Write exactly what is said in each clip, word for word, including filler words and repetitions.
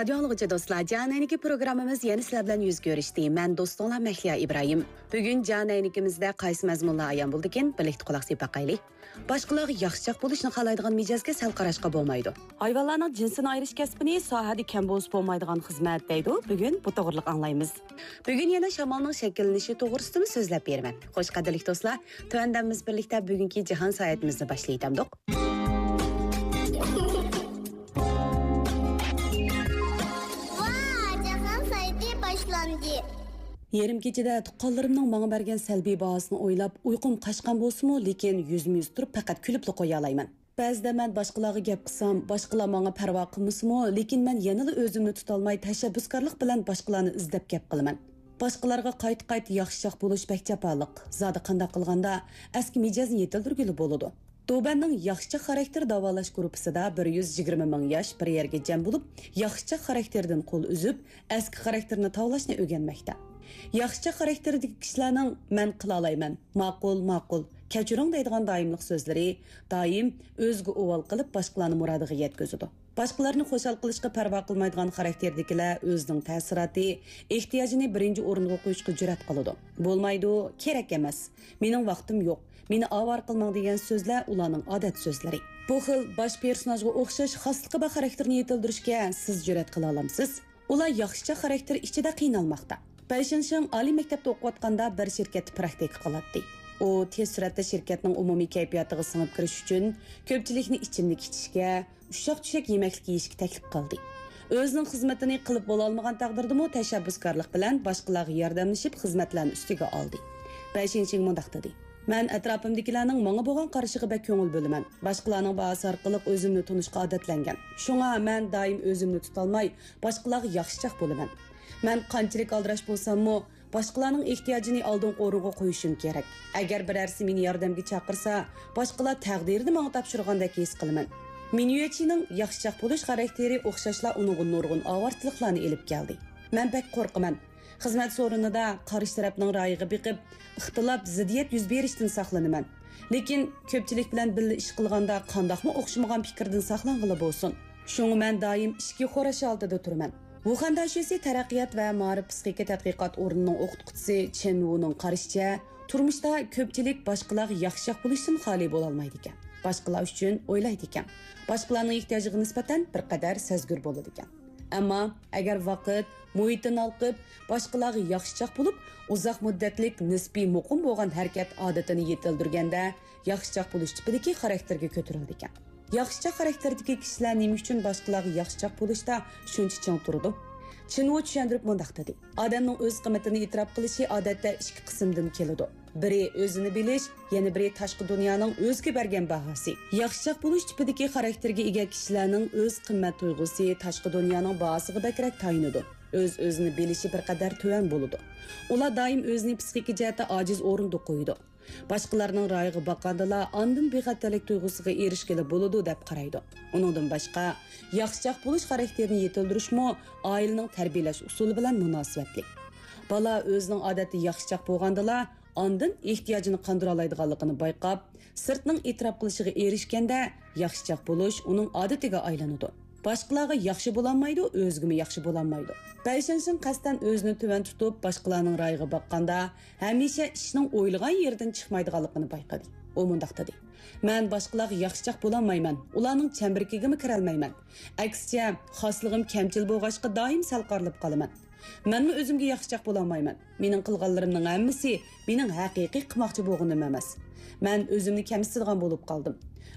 رادىيو ئاڭلىغۇچى دوستلار، جان ئەينىكى پروگراممىمىز يەنە سىلەر بىلەن يۈز كۆرۈشتى. مەن دوستۇڭلار مەھلىيا ئىبراھىم. بۈگۈن جان ئەينىكىمىزدە قايسى مەزمۇنلار ئايان بولىدىكىن، بىرلىكتە قۇلاق سېلىپ باقايلى. باشقىلارغا ياخشىچاق بولۇشنى خالايدىغان مىجەزگە سەل قاراشقا بولمايدۇ. ھايۋانلارنىڭ جىنسىنى ئايرىش كەسپىنى ساھەدە كەم بولسا بولمايدىغان خىزمەت دەيدۇ. بۈگۈن بۇ توغرىلىق ئاڭلايمىز. بۈگۈن يەنە شامالنىڭ شەكىللىنىشى توغرىسىدىمۇ سۆزلەپ بېرىمەن. خوش، قەدىرلىك دوستلار، تۆۋەندە بىز بىرلىكتە بۈگۈنكى جاھان ساياھىتىمىزنى باشلايتامدۇق. ۋا، جاھان سايتى باشلاندى. يېرىم كېچىدە تۇغقانلىرىمنىڭ ماڭا بەرگەن سەلبىي باھاسىنى ئويلاپ، ئۇيقۇم قاچقان بولسىمۇ، لېكىن يۈزمۇ يۈز تۇرۇپ، پەقەت كۈلۈپلا قويالايمەن. بەزىدە مەن باشقىلارغا گەپ قىلسام، باشقىلار ماڭا پەرۋا قىلمىسىمۇ، لېكىن مەن يەنىلا ئۆزۈمنى تۇتالماي، تەشەببۇسكارلىق بىلەن باشقىلارنى ئىزدەپ گەپ قىلىمەن. باشقىلارغا قايتا-قايتا ياخشىچاق بولۇش بەك جاپالىق. زادى قانداق قىلغاندا ئەسكى مىجەزنى يېتىلدۈرگىلى بولىدۇ؟ دوبەننىڭ ياخشىچاق خاراكتېر داۋالاش گۇرۇپپىسىدا بىر يۈز يىگىرمە مىڭ ياش بىر يەرگە جەم بولۇپ، ياخشىچاق خاراكتېردىن قول ئۈزۈپ، ئەسكى خاراكتېرنى تاۋلاشنى ئۆگەنمەكتە. ياخشىچاق خاراكتېردىكى كىشىلەرنىڭ «مەن قىلالايمەن، ماقۇل، ماقۇل، كەچۈرۈڭ» دەيدىغان دائىملىق سۆزلىرى دائىم ئۆزىگە ئۇۋال قىلىپ، باشقىلارنى مۇرادىغا يەتكۈزىدۇ. باشقىلارنى خۇشال قىلىشقا پەرۋا قىلمايدىغان خاراكتېردىكىلەر ئۆزىنىڭ تەسىراتى، ئېھتىياجىنى بىرىنچى ئورۇنغا قويۇشقا جۈرئەت قىلىدۇ. «بولمايدۇ، كېرەك ئەمەس، مېنىڭ ۋاقتىم يوق، مېنى ئاۋارە قىلماڭ» دېگەن سۆزلەر ئۇلارنىڭ ئادەت سۆزلىرى. بۇ خىل باش پېرسوناژغا ئوخشاش خاسلىقى بار خاراكتېرنى يېتىلدۈرۈشكە سىز جۈرئەت قىلالامسىز؟ ئۇلار ياخشىچاق خاراكتېر ئىچىدە قىينالماقتا. بەي شىنشىڭ ئالىي مەكتەپتە ئوقۇۋاتقاندا بىر شىركەتتە پراكتىكا قىلاتتى. ئۇ تېز سۈرئەتتە شىركەتنىڭ ئومۇمىي كەيپىياتىغا سىڭىپ كىرىش ئۈچۈن كۆپچىلىكنى ئىچىملىك ئىچىشكە، ئۇششاق-چۈششەك يېمەكلىك يېيىشكە تەكلىپ قىلدى. ئۆزىنىڭ خىزمىتىنى قىلىپ بولالمىغان تەقدىردىمۇ تەشەببۇسكارلىق بىلەن باشقىلارغا ياردەملىشىپ خىزمەتلەرنى ئۈستىگە ئالدى. بەي شىنشىڭ مۇنداق دېدى: «مەن ئەتراپىمدىكىلەرنىڭ ماڭا بولغان قارىشىغا بەك كۆڭۈل بۆلىمەن. باشقىلارنىڭ باھاسى ئارقىلىق ئۆزۈمنى تونۇشقا ئادەتلەنگەن. شۇڭا مەن دائىم ئۆزۈمنى تۇتالماي، باشقىلارغا ياخشىچاق بولىمەن. مەن قانچىلىك ئالدىراش بولساممۇ، باشقىلارنىڭ ئېھتىياجىنى ئالدىنقى ئورۇنغا قويۇشۇم كېرەك. ئەگەر بىرەرسى مېنى ياردەمگە چاقىرسا، باشقىلار تەقدىرىنى ماڭا تاپشۇرغاندەك ھېس قىلىمەن.» مىنيۈچىنىڭ ياخشىچاق بولۇش خاراكتېرى ئوخشاشلا ئۇنىڭغا نۇرغۇن ئاۋارىچىلىقلارنى ئېلىپ كەلدى. «مەن بەك قورقىمەن. خىزمەت سورۇنىدا قارشى تەرەپنىڭ رايىغا بېقىپ، ئىختىلاپ، زىددىيەت يۈز بېرىشتىن ساقلىنىمەن. لېكىن كۆپچىلىك بىلەن بىللە ئىش قىلغاندا قانداقمۇ ئوخشىمىغان پىكىردىن ساقلانغىلى بولسۇن؟ شۇڭا مەن دائىم ئىچكى خوراش ھالىتىدە تۇرىمەن.» ۋۇخەن داشۆسى تەرەققىيات ۋە مائارىپ پىسخىكا تەتقىقات ئورنىنىڭ ئوقۇتقۇچىسى چېن ۋۇنىڭ قارىشىچە، تۇرمۇشتا كۆپچىلىك باشقىلارغا ياخشىچاق بولۇشتىن خالىي بولالمايدىكەن. باشقىلار ئۈچۈن ئويلايدىكەن. باشقىلارنىڭ ئېھتىياجىغا نىسبەتەن بىر قەدەر سەزگۈر بولىدىكەن. ئەمما ئەگەر ۋاقىت، مۇھىتتىن ھالقىپ، باشقىلارغا ياخشىچاق بولۇپ، ئۇزاق مۇددەتلىك نىسپىي مۇقىم بولغان ھەرىكەت ئادىتىنى يېتىلدۈرگەندە، ياخشىچاق بولۇش تىپىدىكى خاراكتېرگە كۆتۈرۈلىدىكەن. ياخشىچاق خاراكتېردىكى كىشىلەر نېمە ئۈچۈن باشقىلارغا ياخشىچاق بولۇشتا شۇنچە چىڭ تۇرىدۇ؟ چىن ۋۇ چۈشەندۈرۈپ مۇنداق دېدى: «ئادەمنىڭ ئۆز قىممىتىنى ئېتىراپ قىلىشى ئادەتتە ئىككى قىسىمدىن كېلىدۇ. بىرى ئۆزىنى بىلىش، يەنە بىرى تاشقى دۇنيانىڭ ئۆزىگە بەرگەن باھاسى.» ياخشىچاق بولۇش تىپىدىكى خاراكتېرگە ئىگە كىشىلەرنىڭ ئۆز قىممەت تۇيغۇسى تاشقى دۇنيانىڭ باھاسىغا بەكرەك تايىنىدۇ. ئۆز-ئۆزىنى بىلىشى بىر قەدەر تۆۋەن بولىدۇ. ئۇلار دائىم ئۆزىنى پىسخىكا جەھەتتە ئاجىز ئورۇندا قويىدۇ. باشقىلارنىڭ رايىغا باققاندىلا ئاندىن بىخەتەرلىك تۇيغۇسىغا ئېرىشكىلى بولىدۇ دەپ قارايدۇ. ئۇنىڭدىن باشقا، ياخشىچاق بولۇش خاراكتېرىنى يېتىلدۈرۈشمۇ ئائىلىنىڭ تەربىيەلەش ئۇسۇلى بىلەن مۇناسىۋەتلىك. بالا ئۆزىنىڭ ئادەتتە ياخشىچاق بولغاندىلا، ئاندىن ئېھتىياجىنى قاندۇرالايدىغانلىقىنى بايقاپ، سىرتنىڭ ئېتىراپ قىلىشىغا ئېرىشكەندە، ياخشىچاق بولۇش ئۇنىڭ ئادىتىگە ئايلىنىدۇ. باشقىلارغا ياخشى بولالمايدۇ، ئۆزىگىمۇ ياخشى بولالمايدۇ. بەي شىنشىڭ قەستەن ئۆزىنى تۆۋەن تۇتۇپ، باشقىلارنىڭ رايىغا باققاندا، ھەمىشە ئىشنىڭ ئويلىغان يېرىدىن چىقمايدىغانلىقىنى بايقىدى. ئۇ مۇنداق دېدى: «مەن باشقىلارغا ياخشىچاق بولالمايمەن، ئۇلارنىڭ چەمبىرىكىگىمۇ كىرەلمەيمەن. ئەكسىچە، خاسلىقىم كەمچىل بولغاچقا، دائىم سەل قارىلىپ قالىمەن. مەنمۇ ئۆزۈمگە ياخشىچاق بولالمايمەن. مېنىڭ قىلغانلىرىمنىڭ ھەممىسى مېنىڭ ھەقىقىي قىلماقچى بولغىنىم ئەمەس. مەن ئۆزۈمنى كەمسىتىدىغان بولۇپ قالدىم.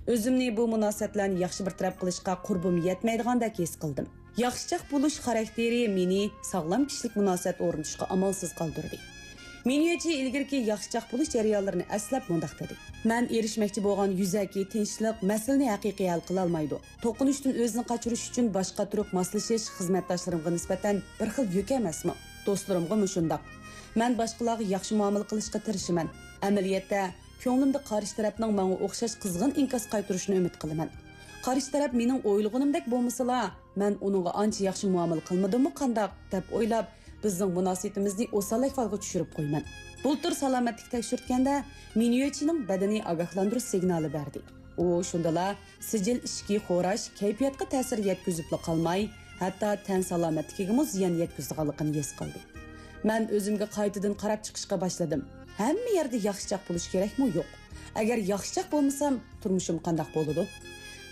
ئۆزۈمنى بۇ مۇناسىۋەتلەرنى ياخشى بىر تەرەپ قىلىشقا قۇربۇم يەتمەيدىغاندەك ھېس قىلدىم.» ياخشىچاق بولۇش خاراكتېرى مېنى ساغلام كىشىلىك مۇناسىۋەت ئورنىتىشقا ئامالسىز قالدۇردى. مىنيۆچى ئىلگىرىكى ياخشىچاق بولۇش جەريانلىرىنى ئەسلەپ مۇنداق دېدى: «مەن ئېرىشمەكچى بولغان يۈزەكى تىنچلىق مەسىلىنى ھەقىقىي ھەل قىلالمايدۇ. توقۇنۇشتىن ئۆزىنى قاچۇرۇش ئۈچۈن باشقا تۈرلۈك ماسلىشىش خىزمەتداشلىرىمغا نىسبەتەن بىر خىل يۈك ئەمەسمۇ؟ دوستلىرىمغىمۇ شۇنداق. مەن باشقىلارغا ياخشى مۇئامىلە قىلىشقا تىرىشىمەن. ئەمەلىيەتتە، كۆڭلۈمدە قارشى تەرەپنىڭ ماڭا ئوخشاش قىزغىن ئىنكاس قايتۇرۇشىنى ئۈمىد قىلىمەن. قارشى تەرەپ مېنىڭ ئويلىغىنىمدەك بولمىسىلا، مەن ئۇنىڭغا ئانچە ياخشى مۇئامىلە قىلمىدىممۇ قانداق، دەپ ئويلاپ، بىزنىڭ مۇناسىۋىتىمىزنى ئوسال ئەھۋالغا چۈشۈرۈپ قويىمەن.» بۇلتۇر سالامەتلىك تەكشۈرتكەندە، مىنيۆچىنىڭ بەدىنى ئاگاھلاندۇرۇش سىگنالى بەردى. ئۇ شۇندىلا سىجىل ئىچكى خوراش كەيپىياتقا تەسىر يەتكۈزۈپلا قالماي، ھەتتا تەن سالامەتلىكىگىمۇ زىيان يەتكۈزىدىغانلىقىنى ھېس قىلدى. مەن ئۆزۈمگە قايتىدىن قاراپ چىقىشقا باشلىدىم. ھەممە يەردە ياخشىچاق بولۇش كېرەكمۇ يوق؟ ئەگەر ياخشىچاق بولمىسام، تۇرمۇشۇم قانداق بولىدۇ؟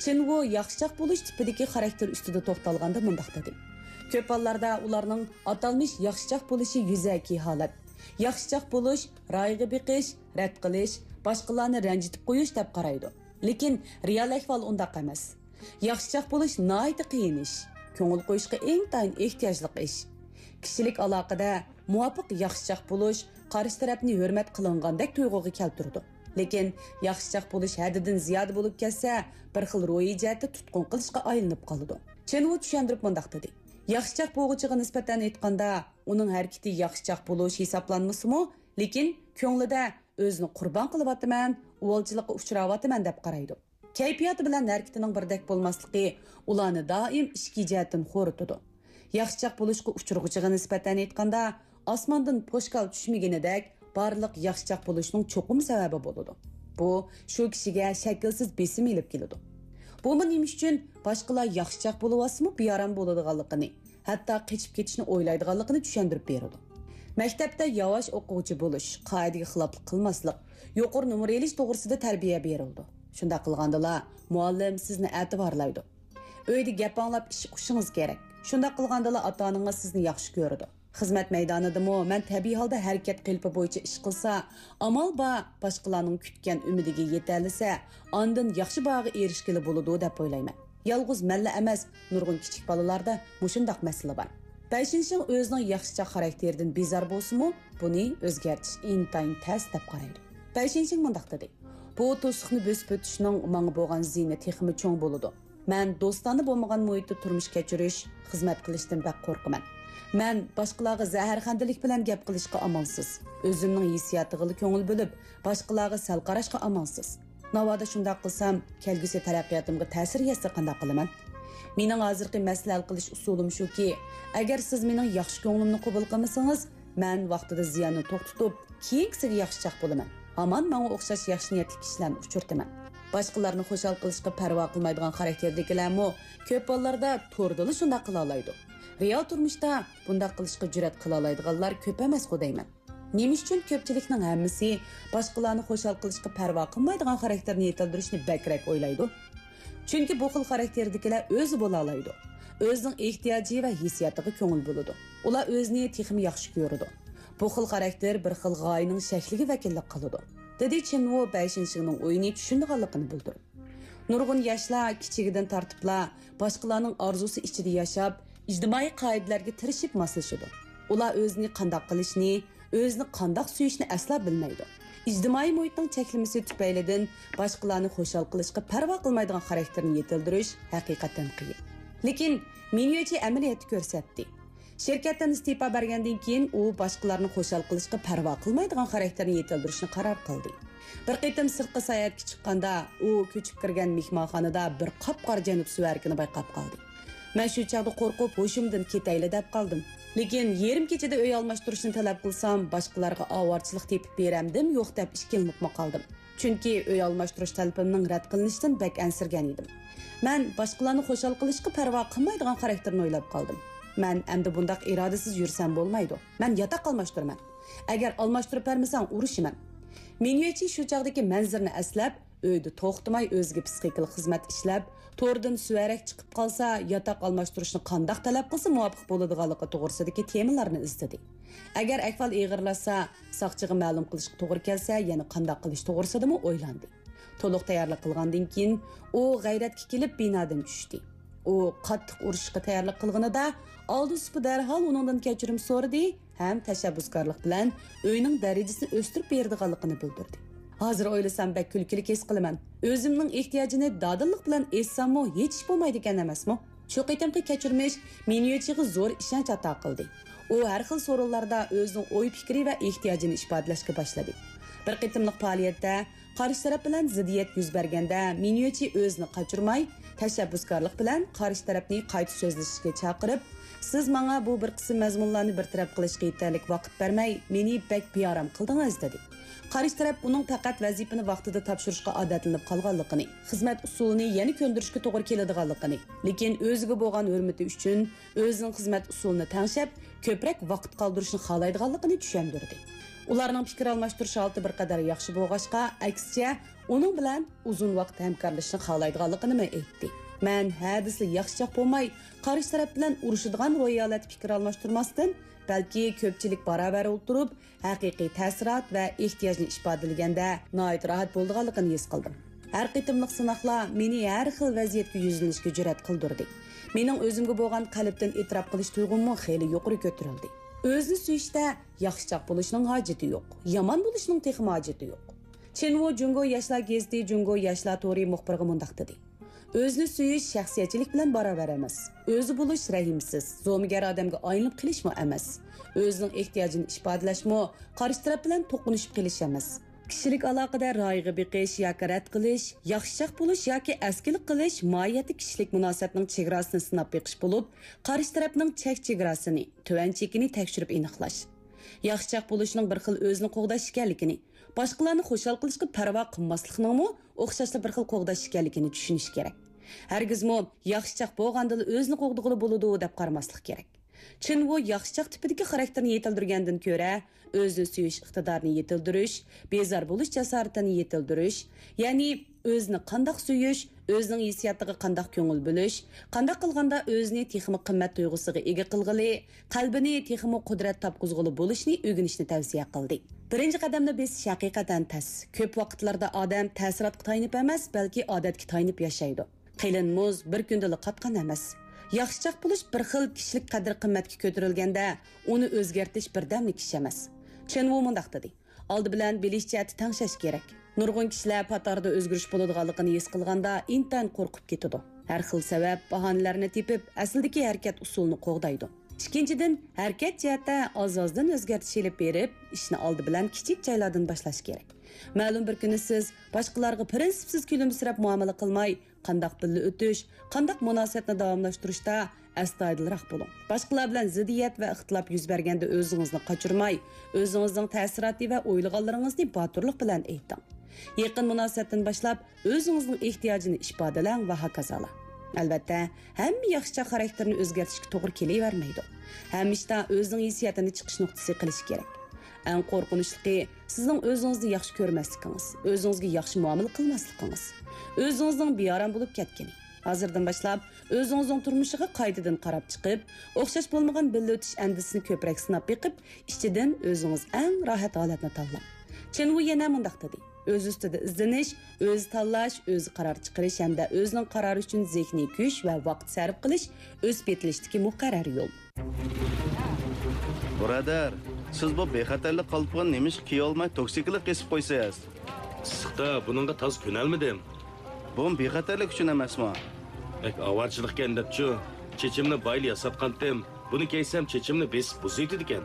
چىن ۋۇ ياخشىچاق بولۇش تىپىدىكى خاراكتېر ئۈستىدە توختالغاندا مۇنداق دېدى: كۆپ ھاللاردا ئۇلارنىڭ ئاتالمىش ياخشىچاق بولۇشى يۈزەكى ھالەت. ياخشىچاق بولۇش، رايغا بېقىش، رەت قىلىش، باشقىلارنى رەنجىتىپ قويۇش دەپ قارايدۇ. لېكىن رېئال ئەھۋال ئۇنداق ئەمەس. ياخشىچاق بولۇش ناھايىتى قىيىن ئىش. كۆڭۈل قويۇشقا ئىنتايىن ئېھتىياجلىق ئىش. كىشىلىك ئالاقىدە مۇۋاپىق ياخشىچاق بولۇش قارشى تەرەپنى ھۆرمەت قىلىنغاندەك تۇيغۇغا كەلتۈرىدۇ. لېكىن ياخشىچاق بولۇش ھەددىدىن زىيادە بولۇپ كەتسە، بىر خىل روھىي جەھەتتە تۇتقۇن قىلىشقا ئايلىنىپ قالىدۇ. چېن ۋۇ چۈشەندۈرۈپ مۇنداق دېدى: ياخشىچاق بوغۇچىغا نىسبەتەن ئېيتقاندا، ئۇنىڭ ھەرىكىتى ياخشىچاق بولۇش ھېسابلانمىسىمۇ، لېكىن كۆڭلىدە ئۆزىنى قۇربان قىلىۋاتىمەن، ئۇۋالچىلىققا ئۇچراۋاتىمەن دەپ قارايدۇ. كەيپىياتى بىلەن ھەرىكىتىنىڭ بىردەك بولماسلىقى ئۇلارنى دائىم ئىچكى جەھەتتىن خورىتىدۇ. ياخشىچاق بولۇشقا ئۇچرىغۇچىغا نىسبەتەن ئېيتقاندا، ئاسماندىن پوشكال چۈشمىگىنىدەك بارلىق ياخشىچاق بولۇشنىڭ چوقۇم سەۋەبى بولىدۇ. بۇ شۇ كىشىگە شەكىلسىز بېسىم ئېلىپ كېلىدۇ. بۇمۇ نېمە ئۈچۈن باشقىلار ياخشىچاق بولۇۋاتسىمۇ بىئارام بولىدىغانلىقىنى، ھەتتا قېچىپ كېتىشنى ئويلايدىغانلىقىنى چۈشەندۈرۈپ بېرىدۇ. مەكتەپتە ياۋاش ئوقۇغۇچى بولۇش، قائىدىگە خىلاپلىق قىلماسلىق، يۇقىرى نومۇر ئېلىش توغرىسىدا تەربىيە بېرىلىدۇ. شۇنداق قىلغاندىلا، مۇئەللىم سىزنى ئەتىۋارلايدۇ. ئۆيدە گەپ ئاڭلاپ ئىش ئۇقۇشىڭىز كېرەك. شۇنداق قىلغاندىلا، ئاتا-ئانىڭىز سىزنى ياخشى كۆرىدۇ. خىزمەت مەيدانىدىمۇ مەن تەبىئىي ھالدا ھەرىكەت قېلىپى بويىچە ئىش قىلسا، ئامال بار باشقىلارنىڭ كۈتكەن ئۈمىدىگە يېتەلىسە، ئاندىن ياخشى باھاغا ئېرىشكىلى بولىدۇ دەپ ئويلايمەن. يالغۇز مەنلا ئەمەس، نۇرغۇن كىچىك بالىلاردا مۇشۇنداق مەسىلە بار. بەيشىنشىڭ ئۆزىنىڭ ياخشىچاق خاراكتېرىدىن بىزار بولسىمۇ، بۇنى ئۆزگەرتىش ئىنتايىن تەس دەپ قارايدۇ. بەيشىنشىڭ مۇنداق دېدى: بۇ توسۇقنى بۆسۈپ ئۆتۈشنىڭ ماڭا بولغان زىيىنى تېخىمۇ چوڭ بولىدۇ. مەن دوستانە بولمىغان مۇھىتتا تۇرمۇش كەچۈرۈش، خىزمەت قىلىشتىن بەك قورقىمەن. مەن باشقىلارغا زەھەرخەندىلىك بىلەن گەپ قىلىشقا ئامالسىز. ئۆزۈمنىڭ ھېسسىياتىغىلا كۆڭۈل بۆلۈپ، باشقىلارغا سەل قاراشقا ئامالسىز. ناۋادا شۇنداق قىلسام، كەلگۈسى تەرەققىياتىمغا تەسىر يەتسە قانداق قىلىمەن؟ مېنىڭ ھازىرقى مەسىلە ھەل قىلىش ئۇسۇلۇم شۇكى، ئەگەر سىز مېنىڭ ياخشى كۆڭلۈمنى قوبۇل قىلمىسىڭىز، مەن ۋاقتىدا زىياننى توختىتىپ، كېيىنكىسىگە ياخشىچاق بولىمەن. ھامان ماڭا ئوخشاش ياخشى نىيەتلىك كىشىلەرنى ئۇچرىتىمەن. باشقىلارنى خۇشال قىلىشقا پەرۋا قىلمايدىغان خاراكتېردىكىلەرمۇ كۆپ ھاللاردا توردىلا شۇنداق قىلالايدۇ. رېئال تۇرمۇشتا بۇنداق قىلىشقا جۈرئەت قىلالايدىغانلار كۆپ ئەمەسقۇ دەيمەن. نېمە ئۈچۈن كۆپچىلىكنىڭ ھەممىسى باشقىلارنى خۇشال قىلىشقا پەرۋا قىلمايدىغان خاراكتېرنى يېتىلدۈرۈشنى بەكرەك ئويلايدۇ؟ چۈنكى بۇ خىل خاراكتېردىكىلەر ئۆزى بولالايدۇ. ئۆزىنىڭ ئېھتىياجى ۋە ھېسسىياتىغا كۆڭۈل بۆلىدۇ. ئۇلار ئۆزىنى تېخىمۇ ياخشى كۆرىدۇ. بۇ خىل خاراكتېر بىر خىل غايىنىڭ شەكلىگە ۋەكىللىك قىلىدۇ، دېدى چېن ۋۇ بەيشىنشىڭنىڭ ئويىنى چۈشىنىدىغانلىقىنى بىلدۈرۈپ. نۇرغۇن ياشلار كىچىكىدىن تارتىپلا باشقىلارنىڭ ئارزۇسى ئىچىدە ياشاپ، ئىجتىمائىي قائىدىلەرگە تىرىشىپ ماسلىشىدۇ. ئۇلار ئۆزىنى قانداق قىلىشنى، ئۆزىنى قانداق سۆيۈشنى ئەسلا بىلمەيدۇ. ئىجتىمائىي مۇھىتنىڭ چەكلىمىسى تۈپەيلىدىن باشقىلارنى خۇشال قىلىشقا پەرۋا قىلمايدىغان خاراكتېرنى يېتىلدۈرۈش ھەقىقەتەن قىيىن. لېكىن مىنيۆچى ئەمەلىيەتتە كۆرسەتتى. شىركەتتىن ئىستېپا بەرگەندىن كېيىن ئۇ باشقىلارنى خۇشال قىلىشقا پەرۋا قىلمايدىغان خاراكتېرنى يېتىلدۈرۈشنى قارار قىلدى. بىر قېتىم سىرتقا ساياھەتكە چىققاندا، ئۇ كۆچۈپ كىرگەن مېھمانخانىدا بىر قاپقارا جەنۇب سۈۋەرىكىنى بايقاپ قالدى. مەن شۇ چاغدا قورقۇپ، ھوشۇمدىن كېتەيلى دەپ قالدىم. لېكىن يېرىم كېچىدە ئۆي ئالماشتۇرۇشنى تەلەپ قىلسام، باشقىلارغا ئاۋارىچىلىق تېپىپ بېرەمدىم يوق دەپ ئىككىلىنىپمۇ قالدىم. چۈنكى ئۆي ئالماشتۇرۇش تەلىپىمنىڭ رەت قىلىنىشىدىن بەك ئەنسىرىگەن ئىدىم. مەن باشقىلارنى خۇشال قىلىشقا پەرۋا قىلمايدىغان خاراكتېرنى ئويلاپ قالدىم. مەن ئەمدى بۇنداق ئىرادىسىز يۈرسەم بولمايدۇ. مەن ياتاق ئالماشتۇرىمەن. ئەگەر ئالماشتۇرۇپ بەرمىسەڭ، ئۇرۇشىمەن. مىنيۆچى شۇ چاغدىكى مەنزىرىنى ئەسلەپ، ئۆيدە توختىماي ئۆزىگە پسىخىكىلىق خىزمەت ئىشلەپ، توردىن سۈۋەرەك چىقىپ قالسا، ياتاق ئالماشتۇرۇشنى قانداق تەلەپ قىلسا مۇۋاپىق بولىدىغانلىقى توغرىسىدىكى تېمىلارنى ئىزدىدى. ئەگەر ئەھۋال ئېغىرلاشسا، ساقچىغا مەلۇم قىلىشقا توغرا كەلسە، يەنە قانداق قىلىش توغرىسىدىمۇ ئويلاندى. تولۇق تەييارلىق قىلغاندىن كېيىن، ئۇ غەيرەتكە كېلىپ بىنادىن چۈشتى. ئۇ قاتتىق ئۇرۇشۇشقا تەييارلىق قىلغىنىدا، ئالدى سۇپى دەرھال ئۇنىڭدىن كەچۈرۈم سورىدى ھەم تەشەببۇسكارلىق بىلەن ئۆينىڭ دەرىجىسىنى ئۆستۈرۈپ بېرىدىغانلىقىنى بىلدۈردى. ھازىر ئويلىسام بەك كۈلكىلىك ھېس قىلىمەن. ئۆزۈمنىڭ ئېھتىياجىنى دادىللىق بىلەن ئېيتساممۇ ھېچ ئىش بولمايدىكەن ئەمەسمۇ؟ شۇ قېتىمقى كەچۈرمىش مىنيۆچىغا زور ئىشەنچ ئاتا قىلدى. ئۇ ھەر خىل سورۇنلاردا ئۆزىنىڭ ئوي پىكرى ۋە ئېھتىياجىنى ئىپادىلەشكە باشلىدى. بىر قېتىملىق پائالىيەتتە قارشى تەرەپ بىلەن زىددىيەت يۈز بەرگەندە، مىنيۆچى ئۆزىنى قاچۇرماي، تەشەببۇسكارلىق بىلەن قارشى تەرەپنى قايتا سۆزلىشىشكە چاقىرىپ، سىز ماڭا بۇ بىر قىسىم مەزمۇنلارنى بىر تەرەپ قىلىشقا يېتەرلىك ۋاقىت بەرمەي، مېنى بەك بىئارام قىلدىڭىز، دېدى. قارشى تەرەپ ئۇنىڭ پەقەت ۋەزىپىنى ۋاقتىدا تاپشۇرۇشقا ئادەتلىنىپ قالغانلىقىنى، خىزمەت ئۇسۇلىنى يەنە كۆندۈرۈشكە توغرا كېلىدىغانلىقىنى، لېكىن ئۆزىگە بولغان ھۆرمىتى ئۈچۈن ئۆزىنىڭ خىزمەت ئۇسۇلىنى تەڭشەپ، كۆپرەك ۋاقىت قالدۇرۇشنى خالايدىغانلىقىنى چۈشەندۈردى. ئۇلارنىڭ پىكىر ئالماشتۇرۇش ھالىتى بىر قەدەر ياخشى بولغاچقا، ئەكسىچە، ئۇنىڭ بىلەن ئۇزۇن ۋاقىت ھەمكارلىشىشنى خالايدىغانلىقىنىمۇ ئېيتتى. مەن ھە دېسىلا ياخشىچاق بولماي، قارشى تەرەپ بىلەن ئۇرۇشىدىغان روھىي ھالەتتە پىكىر ئالماشتۇرماستىن، بەلكى كۆپچىلىك باراۋەر ئولتۇرۇپ، ھەقىقىي تەسىرات ۋە ئېھتىياجنى ئىپادىلىگەندە ناھايىتى راھەت بولىدىغانلىقىنى ھېس قىلدىم. ھەر قېتىملىق سىناقلار مېنى ھەر خىل ۋەزىيەتكە يۈزلىنىشكە جۈرئەت قىلدۇردى. مېنىڭ ئۆزۈمگە بولغان قەلبتىن ئېتىراپ قىلىش تۇيغۇممۇ خېلى يۇقىرى كۆتۈرۈلدى. ئۆزىنى سۆيۈشتە ياخشىچاق بولۇشنىڭ ھاجىتى يوق، يامان بولۇشنىڭ تېخىمۇ ھاجىتى يوق. چېن ۋۇ جۇڭگو ياشلار گېزىتى جۇڭگو ياشلار تورى مۇخبىرىغا مۇنداق دېدى: ئۆزىنى سۆيۈش شەخسىيەتچىلىك بىلەن باراۋەر ئەمەس. ئۆزى بولۇش رەھىمسىز، زومىگەر ئادەمگە ئايلىنىپ قېلىشمۇ ئەمەس. ئۆزىنىڭ ئېھتىياجىنى ئىپادىلەشمۇ قارشى تەرەپ بىلەن توقۇنۇشۇپ قېلىش ئەمەس. كىشىلىك ئالاقىدە رايىغا بېقىش ياكى رەت قىلىش، ياخشىچاق بولۇش ياكى ئەسكىلىك قىلىش ماھىيەتتە كىشىلىك مۇناسىۋەتنىڭ چېگراسىنى سىناپ بېقىش بولۇپ، قارشى تەرەپنىڭ چەك چېگراسىنى، تۆۋەن چېكىنى تەكشۈرۈپ ئېنىقلاش. ياخشىچاق بولۇشنىڭ بىر خىل ئۆزىنى قوغداش ئىكەنلىكىنى، باشقىلارنى خۇشال قىلىشقا پەرۋا قىلماسلىقنىڭمۇ ئوخشاشلا بىر خىل قوغداش ئىكەنلىكىنى چۈشىنىش كېرەك. ھەرگىزمۇ ياخشىچاق بولغاندىلا ئۆزىنى قوغدىغىلى بولىدۇ دەپ قارىماسلىق كېرەك. چېن ۋۇ ياخشىچاق تىپىدىكى خاراكتېرنى يېتىلدۈرگەندىن كۆرە، ئۆزىنى سۆيۈش ئىقتىدارىنى يېتىلدۈرۈش، بىزار بولۇش جاسارىتىنى يېتىلدۈرۈش، يەنى ئۆزىنى قانداق سۆيۈش، ئۆزىنىڭ ھېسسىياتىغا قانداق كۆڭۈل بۆلۈش، قانداق قىلغاندا ئۆزىنى تېخىمۇ قىممەت تۇيغۇسىغا ئىگە قىلغىلى، قەلبىنى تېخىمۇ قۇدرەت تاپقۇزغىلى بولۇشنى ئۆگىنىشنى تەۋسىيە قىلدى. بىرىنچى قەدەمنى بېسىش ھەقىقەتەن تەس. كۆپ ۋاقىتلاردا ئادەم تەسىراتقا تايىنىپ ئەمەس، بەلكى ئادەتكە تايىنىپ ياشايدۇ. قېلىن مۇز بىر كۈندىلا قاتقان ئەمەس. ياخشىچاق بولۇش بىر خىل كىشىلىك قەدىر-قىممەتكە كۆتۈرۈلگەندە، ئۇنى ئۆزگەرتىش بىردەملىك ئىش ئەمەس. چېن ۋۇ مۇنداق دېدى: ئالدى بىلەن بىلىش جەھەتتە تەڭشەش كېرەك. نۇرغۇن كىشىلەر پاتاردا ئۆزگىرىش بولىدىغانلىقىنى ھېس قىلغاندا ئىنتايىن قورقۇپ كېتىدۇ. ھەر خىل سەۋەب، باھانىلەرنى تېپىپ، ئەسلىدىكى ھەرىكەت ئۇسۇلىنى قوغدايدۇ. ئىككىنچىدىن، ھەرىكەت جەھەتتە ئاز-ئازدىن ئۆزگەرتىش ئېلىپ بېرىپ، ئىشنى ئالدى بىلەن كىچىك جايلاردىن باشلاش كېرەك. مەلۇم بىر كۈنى سىز باشقىلارغا پىرىنسىپسىز كۈلۈمسىرەپ مۇئامىلە قىلماي، قانداق بىللە ئۆتۈش، قانداق مۇناسىۋەتنى داۋاملاشتۇرۇشتا ئەستايىدىلراق بولۇڭ. باشقىلار بىلەن زىددىيەت ۋە ئىختىلاپ يۈز بەرگەندە ئۆزىڭىزنى قاچۇرماي، ئۆزىڭىزنىڭ تەسىراتى ۋە ئويلىغانلىرىڭىزنى باتۇرلۇق بىلەن ئېيتىڭ. يېقىن مۇناسىۋەتتىن باشلاپ ئۆزىڭىزنىڭ ئېھتىياجىنى ئىپادىلەڭ ۋە ھاكازالا. ئەلۋەتتە، ھەممە ياخشىچاق خاراكتېرنى ئۆزگەرتىشكە توغرا كېلىۋەرمەيدۇ. ھەمىشە ئۆزىنىڭ ھېسسىياتىنى چىقىش نۇقتىسى قىلىش كېرەك. ئەڭ قورقۇنچلۇقى، سىزنىڭ ئۆزىڭىزنى ياخشى كۆرمەسلىكىڭىز، ئۆزىڭىزگە ياخشى مۇئامىلە قىلماسلىقىڭىز. ئۆزىڭىزنىڭ بىئارام بولۇپ كەتكىنى. ھازىردىن باشلاپ ئۆزىڭىزنىڭ تۇرمۇشىغا قايتىدىن قاراپ چىقىپ، ئوخشاش بولمىغان بىللە ئۆتۈش ئەندىزىسىنى كۆپرەك سىناپ بېقىپ، ئىچىدىن ئۆزىڭىز ئەڭ راھەت ھالەتنى تاللاڭ. چېن ۋۇ يەنە مۇنداق دېدى: ئۆز ئۈستىدە ئىزدىنىش، ئۆزى تاللاش، ئۆزى قارار چىقىرىش ھەمدە ئۆزىنىڭ قارارى ئۈچۈن زېھنىي كۈچ ۋە ۋاقىت سەرپ قىلىش ئۆسۈپ يېتىلىشتىكى مۇقەررەر يول. بۇرادەر، سىز بۇ بىخەتەرلىك قالپىقىنى نېمىشقا كىيەلمەي توكسىكلىق قېسىپ قويىسىز؟ ئىسسىقتا بۇنىڭغا تازا كۆنەلمىدىم. بۇمۇ بىخەتەرلىك ئۈچۈن ئەمەسمۇ؟ بەك ئاۋارىچىلىقكەن دەپچۇ، چېچىمنى بايىلا ياساتقانتىم. بۇنى كىيسەم چېچىمنى بېسىپ بۇزۇۋېتىدىكەن.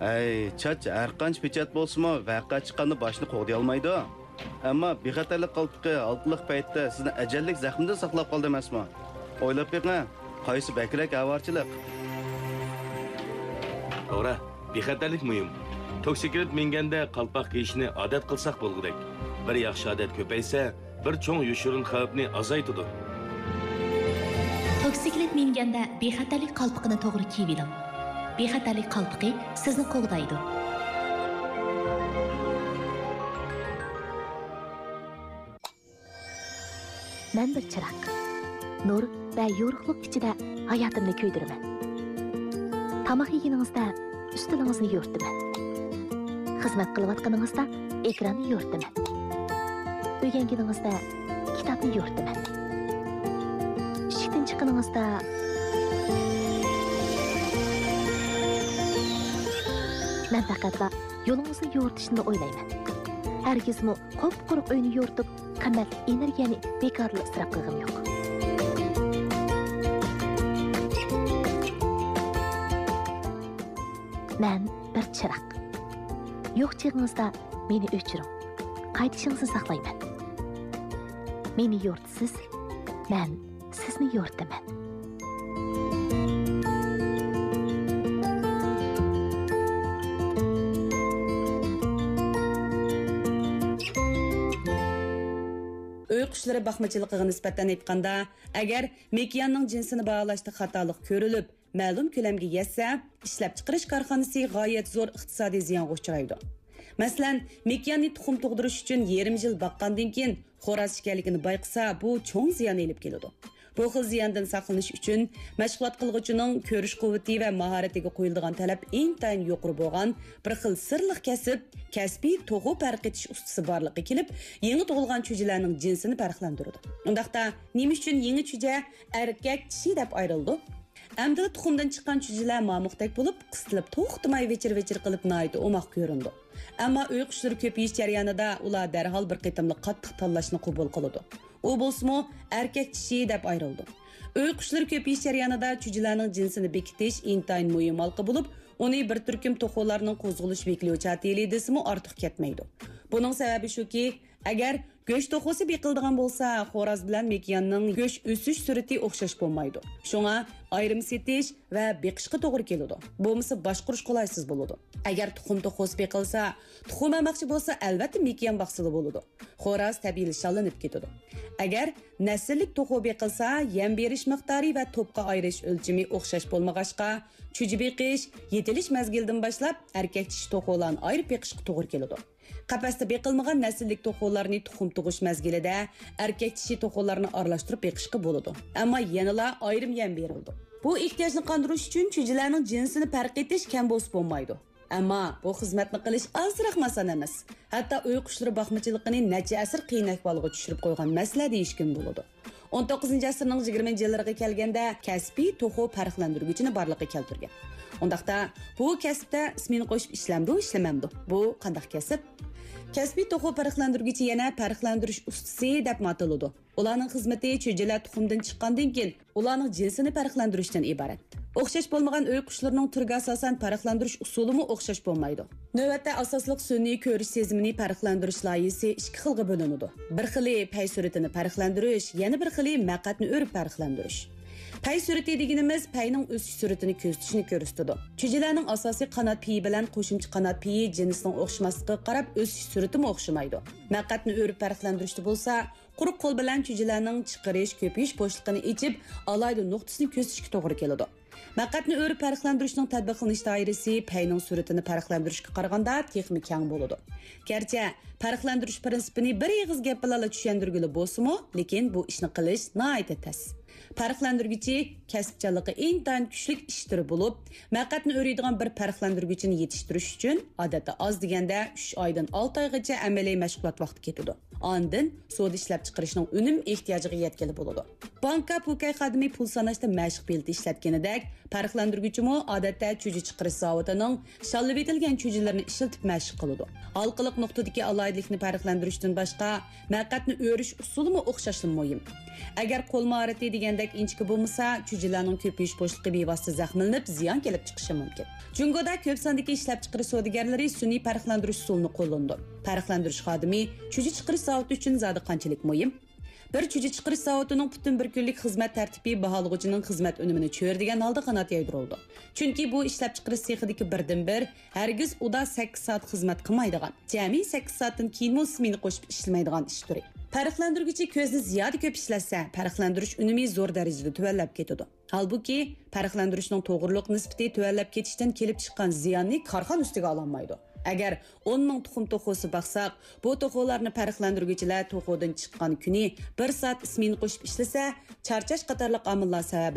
ھەي، چاچ ھەرقانچە پېچەت بولسىمۇ، ۋەقە چىققاندا باشنى قوغدىيالمايدۇ. ئەمما بىخەتەرلىك قالپىقى ھالقىلىق پەيتتە سىزنى ئەجەللىك زەخمىدىن ساقلاپ قالدى ئەمەسمۇ؟ ئويلاپ بېقىڭ، قايسى بەكرەك ئاۋارىچىلىق؟ توغرا، بىخەتەرلىك مۇھىم. توكسىكلىت مىنگەندە قالپاق كىيىشنى ئادەت قىلساق بولغۇدەك. بىر ياخشى ئادەت كۆپەيسە، بىر چوڭ يوشۇرۇن خەۋپنى ئازايتىدۇ. توكسىكلىت مىنگەندە بىخەتەرلىك قالپىقىنى توغرا كىيىۋېلىڭ. بىخەتەرلىك قالپىقى سىزنى قوغدايدۇ. مەن بىر چىراغ. نۇر ۋە يورۇقلۇق ئىچىدە ھاياتىمنى كۆيدۈرىمەن. تاماق يېگىنىڭىزدە ئۈستىلىڭىزنى يورۇتىمەن. خىزمەت قىلىۋاتقىنىڭىزدا ئېكراننى يورۇتىمەن. ئۆگەنگىنىڭىزدە كىتابنى يورۇتىمەن. ئىشىكتىن چىققىنىڭىزدا مەن پەقەتلا يولىڭىزنى يورۇتۇشنىلا ئويلايمەن. ھەرگىزمۇ قۇپقۇرۇق ئۆينى يورۇتۇپ، قىممەتلىك ئېنېرگىيەنى بىكاردىلا ئىسراپ قىلغۇم يوق. مەن بىر چىراغ. يوق چېغىڭىزدا مېنى ئۆچۈرۈڭ. قايتىشىڭىزنى ساقلايمەن. مېنى يورۇتىسىز، مەن سىزنى يورۇتىمەن. قۇشلىرى باقمىچىلىقىغا نىسبەتەن ئېيتقاندا، ئەگەر مېكىياننىڭ جىنسىنى باھالاشتا خاتالىق كۆرۈلۈپ، مەلۇم كۆلەمگە يەتسە، ئىشلەپچىقىرىش كارخانىسى غايەت زور ئىقتىسادىي زىيانغا ئۇچرايدۇ. مەسىلەن، مېكىياننى تۇخۇم تۇغدۇرۇش ئۈچۈن يېرىم يىل باققاندىن كېيىن، خوراز ئىكەنلىكىنى بايقىسا، بۇ چوڭ زىيان ئېلىپ كېلىدۇ. بۇ خىل زىياندىن ساقلىنىش ئۈچۈن، مەشغۇلات قىلغۇچىنىڭ كۆرۈش قۇۋۋىتى ۋە ماھارىتىگە قويۇلىدىغان تەلەپ ئىنتايىن يۇقىرى بولغان بىر خىل سىرلىق كەسىپ، كەسپىي توخۇ پەرقىتىش ئۇستىسى بارلىققا كېلىپ، يېڭى تۇغۇلغان چۈجىلەرنىڭ جىنسىنى پەرقلەندۈرىدۇ. ئۇنداقتا، نېمە ئۈچۈن يېڭى چۈجە ئەركەك، چىشى دەپ ئايرىلىدۇ؟ ئەمدىلا تۇخۇمدىن چىققان چۈجىلەر مامۇقتەك بولۇپ، قىستىلىپ، توختىماي ۋىچىر-ۋىچىر قىلىپ، ناھايىتى ئوماق كۆرۈنىدۇ. ئەمما ئۆي قۇشلىرى كۆپىيىش جەريانىدا ئۇلار دەرھال بىر قېتىملىق قاتتىق تاللاشنى قوبۇل قىلىدۇ. ئۇ بولسىمۇ ئەركەك چىشى دەپ ئايرىلىدۇ. ئۆي قۇشلىرى كۆپىيىش جەريانىدا چۈجىلەرنىڭ جىنسىنى بېكىتىش ئىنتايىن مۇھىم ھالقا بولۇپ، ئۇنى بىر تۈركۈم توخۇلارنىڭ قوزغىلىش ۋەكىلى دېسىمۇ ئارتۇق كەتمەيدۇ. بۇنىڭ سەۋەبى شۇكى، ئەگەر گۆش توخۇسى بېقىلىدىغان بولسا، خوراز بىلەن مېكىياننىڭ گۆش ئۆسۈش سۈرئىتى ئوخشاش بولمايدۇ. شۇڭا ئايرىم سېتىش ۋە بېقىشقا توغرا كېلىدۇ. بولمىسا باشقۇرۇش قولايسىز بولىدۇ. ئەگەر تۇخۇم توخۇسى بېقىلسا، تۇخۇم ئالماقچى بولسا، ئەلۋەتتە مېكىيان باقسىلا بولىدۇ. خوراز تەبىئىيلا شاللىنىپ كېتىدۇ. ئەگەر نەسىللىك توخۇ بېقىلسا، يەم بېرىش مىقدارى ۋە توپقا ئايرىش ئۆلچىمى ئوخشاش بولمىغاچقا، چۈجە بېقىش، يېتىلىش مەزگىلىدىن باشلاپ ئەركەك چىشى توخۇلارنى ئايرىپ بېقىشقا توغرا كېلىدۇ. قەپەستە بېقىلمىغان نەسىللىك توخۇلارنى تۇخۇم تۇغۇش مەزگىلىدە ئەركەك چىشى توخۇلارنى ئارىلاشتۇرۇپ بېقىشقا بولىدۇ. ئەمما يەنىلا ئايرىم يەم بېرىلىدۇ. بۇ ئېھتىياجنى قاندۇرۇش ئۈچۈن چۈجىلەرنىڭ جىنسىنى پەرق ئېتىش كەم بولسا بولمايدۇ. ئەمما بۇ خىزمەتنى قىلىش ئازراقمۇ ئاسان ئەمەس. ھەتتا ئۆي قۇشلىرى باقمىچىلىقىنى نەچچە ئەسىر قىيىن ئەھۋالغا چۈشۈرۈپ قويغان مەسىلە دېيىشكىمۇ بولىدۇ. ئون توققۇزىنچى ئەسىرنىڭ يىگىرمىنچى يىللىرىغا كەلگەندە كەسپىي توخۇ پەرقلەندۈرگۈچىنى بارلىققا كەلتۈرگەن. ئۇنداقتا، بۇ كەسىپتە ئىسمىنى قوشۇپ ئىشلەمدۇ، ئىشلىمەمدۇ؟ بۇ قانداق كەسىپ؟ كەسپىي توخۇ پەرقلەندۈرگۈچى يەنە پەرقلەندۈرۈش ئۇستىسى دەپمۇ ئاتىلىدۇ. ئۇلارنىڭ خىزمىتى چۈجىلەر تۇخۇمدىن چىققاندىن كېيىن، ئۇلارنىڭ جىنسىنى پەرقلەندۈرۈشتىن ئىبارەت. ئوخشاش بولمىغان ئۆي قۇشلىرىنىڭ تۈرىگە ئاساسەن پەرقلەندۈرۈش ئۇسۇلىمۇ ئوخشاش بولمايدۇ. نۆۋەتتە ئاساسلىق سۈنئىي كۆرۈش سېزىمىنى پەرقلەندۈرۈش لايىھىسى ئىككى خىلغا بۆلۈنىدۇ. بىر خىلى پەي سۈرئىتىنى پەرقلەندۈرۈش، يەنە بىر خىلى مەقئەتنى ئۆرۈپ پەرقلەندۈرۈش. پەي سۈرئىتى دېگىنىمىز پەينىڭ ئۆسۈش سۈرئىتىنى كۆزىتىشنى كۆرسىتىدۇ. چۈجىلەرنىڭ ئاساسىي قانات پېيى بىلەن قوشۇمچە قانات پېيى جىنسنىڭ ئوخشىماسلىقىغا قاراپ ئۆسۈش سۈرئىتىمۇ ئوخشىمايدۇ. مەقئەتنى ئۆرۈپ پەرقلەندۈرۈشتە بولسا، قۇرۇق قول بىلەن چۈجىلەرنىڭ چىقىرىش، كۆپىيىش بوشلۇقىنى ئېچىپ، ئالاھىدە نۇقتىسىنى كۆزىتىشكە توغرا كېلىدۇ. مەقئەتنى ئۆرۈپ پەرقلەندۈرۈشنىڭ تەتبىقلىنىش دائىرىسى پەينىڭ سۈرئىتىنى پەرقلەندۈرۈشكە قارىغاندا تېخىمۇ كەڭ بولىدۇ. گەرچە پەرقلەندۈرۈش پىرىنسىپىنى بىر ئېغىز گەپ بىلەنلا چۈشەندۈرگىلى بولسىمۇ، لېكىن بۇ ئىشنى قىلىش ناھايىتى تەس. پەرقلەندۈرگۈچى كەسىپچانلىقى ئىنتايىن كۈچلۈك ئىش تۈرى بولۇپ، مەقئەتنى ئۆرۈيدىغان بىر پەرقلەندۈرگۈچىنى يېتىشتۈرۈش ئۈچۈن، ئادەتتە ئاز دېگەندە ئۈچ ئايدىن ئالتە ئايغىچە ئەمەلىي مەشغۇلات ۋاقتى كېتىدۇ. ئاندىن سودا ئىشلەپچىقىرىشنىڭ ئۈنۈم ئېھتىياجىغا يەتكىلى بولىدۇ. بانكا پوكەي خادىمى پۇل ساناشتا مەشىق بېلىتى ئىشلەتكىنىدەك، پەرقلەندۈرگۈچىمۇ ئادەتتە چۈجە چىقىرىش زاۋۇتىنىڭ شاللىۋېتىلگەن چۈجىلىرىنى ئىشلىتىپ مەشىق قىلىدۇ. ھالقىلىق نۇقتىدىكى ئالاھىدىلىكنى پەرقلەندۈرۈشتىن باشقا، مەقئەتنى ئۆرۈش ئۇسۇلىمۇ ئوخشاشلا مۇھىم. ئەگەر قول ماھارىتى دېگەندەك ئىنچىكە بولمىسا، چۈجىلەرنىڭ كۆپىيىش بوشلۇقى بىۋاسىتە زەخىملىنىپ، زىيان كېلىپ چىقىشى مۇمكىن. جۇڭگودا كۆپ ساندىكى ئىشلەپچىقىرىش سودىگەرلىرى سۈنئىي پەرقلەندۈرۈش ئۇسۇلىنى قوللىنىدۇ. پەرقلەندۈرۈش خادىمى چۈجە چىقىرىش زاۋۇتى ئۈچۈن زادى قانچىلىك مۇھىم؟ بىر چۈجە چىقىرىش زاۋۇتىنىڭ پۈتۈن بىر كۈنلۈك خىزمەت تەرتىپى باھالىغۇچىنىڭ خىزمەت ئۈنۈمىنى چۆرىدىگەن ھالدا قانات يايدۇرۇلىدۇ. چۈنكى بۇ ئىشلەپچىقىرىش سېخىدىكى بىردىنبىر، ھەرگىز ئۇدا سەككىز سائەت خىزمەت قىلمايدىغان، جەمئىي سەككىز سائەتتىن كېيىنمۇ سمېنا قوشۇپ ئىشلىمەيدىغان ئىش تۈرى. پەرقلەندۈرگۈچى كۆزنى زىيادە كۆپ ئىشلەتسە، پەرقلەندۈرۈش ئۈنۈمى زور دەرىجىدە تۆۋەنلەپ كېتىدۇ. ھالبۇكى، پەرقلەندۈرۈشنىڭ توغرىلىق نىسبىتى تۆۋەنلەپ كېتىشتىن كېلىپ چىققان زىياننى كارخانا ئۈستىگە ئالالمايدۇ. ئەگەر ئون مىڭ تۇخۇم توخۇسى باقساق، بۇ توخۇلارنى پەرقلەندۈرگۈچىلەر توخۇدىن چىققان كۈنى بىر سائەت سمېنا قوشۇپ ئىشلىسە، چارچاش قاتارلىق ئامىللار سەۋەبىدىن